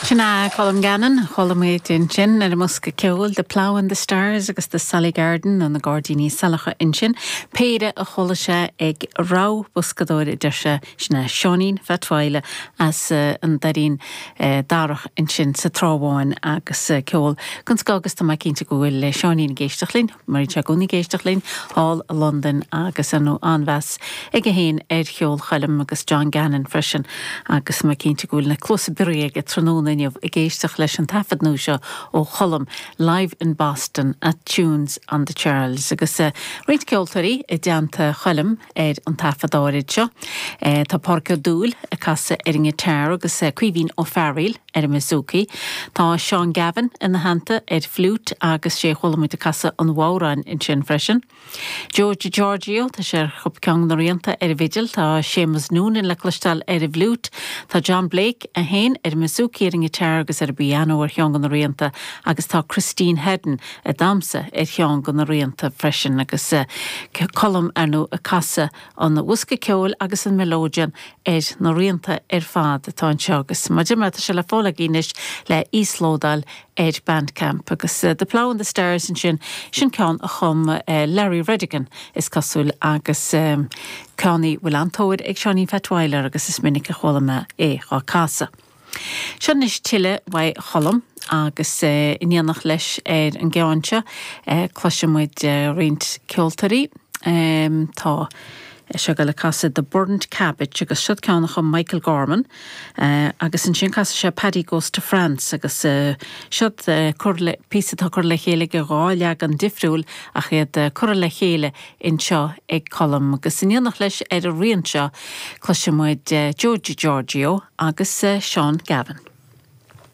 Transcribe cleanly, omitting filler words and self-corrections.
Sin é Colm Gannon, chuala muid ansin ar an mbosca ceoil, The Plough and the Stars agus The Sally Garden nó na Gairdíní Saileacha ansin, péire a chuala sé ag rogha boscadóir a deir sé, sin é Seáinín Phat Mhaidhle as an Doirín Darach ansin sa Trá Bháin agus ceol den scoth agus tá mé cinnte go bhfuil Seáinín ag éisteacht linn. Mar bíonn sé i gcónaí ag éisteacht linn thall i Londain agus ar ndóigh an-mheas aige féin ar cheol Choilm agus John Gannon freisin agus mé cinnte go bhfuil na cluasa bioraí aige tráthnóna inniu ag éisteacht leis an taifead nua seo ó Cholm, Live in Boston at Tunes on the Charles agus roinnt ceoltóirí i dteannta Choilm ar an taifead áirid seo. Tá Pádraic Ó Dúill ag casadh ar an ngiotár agus Caoimhín Ó Fearghaíl ar an mbouzouki. Tá Seán Gavin ina theannta ar fliúit agus sé a chuala muid ag casadh an bhodhráin ansin freisin. Joe DiGiorgio, tá sé ar ceann de na rianta ar an bhfidil, tá Séamus Noonan le cloisteáil ar an bhfliúit, tá John Blake é féin ar an mbouzouki, ar an ngiotár agus ar an bpianó ar cheann de na rianta agus tá Christine Heddon ag damhsa ar cheann de na rianta freisin agus Colm ar ndóigh ag casadh an bhosca ceoil agus an melodeon ar na rianta ar fad atá anseo agus mar a deir mé tá sé le fáil agaibh anois le íoslódáil ar Bandcamp agus The Plough and the Stars ansin, sin ceann a chum Larry Redigan is cosúil agus ceann a bhfuil an-tóir ag Seáinín Phat Mhaidhle air agus is minic a chuala mé é dhá casadh. Seo anois tuilleadh uaidh Cholm agus in éineacht leis ar an gceann seo cloisfidh muid roinnt ceoltóirí. Tá sé ag dul ag casadh The Burnt Cabbage agus siod ceann a chum Michael Gorman agus ansin casfaidh sé Paddy Goes to France agus siod píosa atá curtha le chéile de dhá leagan difriúil ach iad curtha le chéile anseo ag Colm agus in éineacht leis ar an rian seo cloisfidh muid Joe DiGiorgio agus Seán Gavin.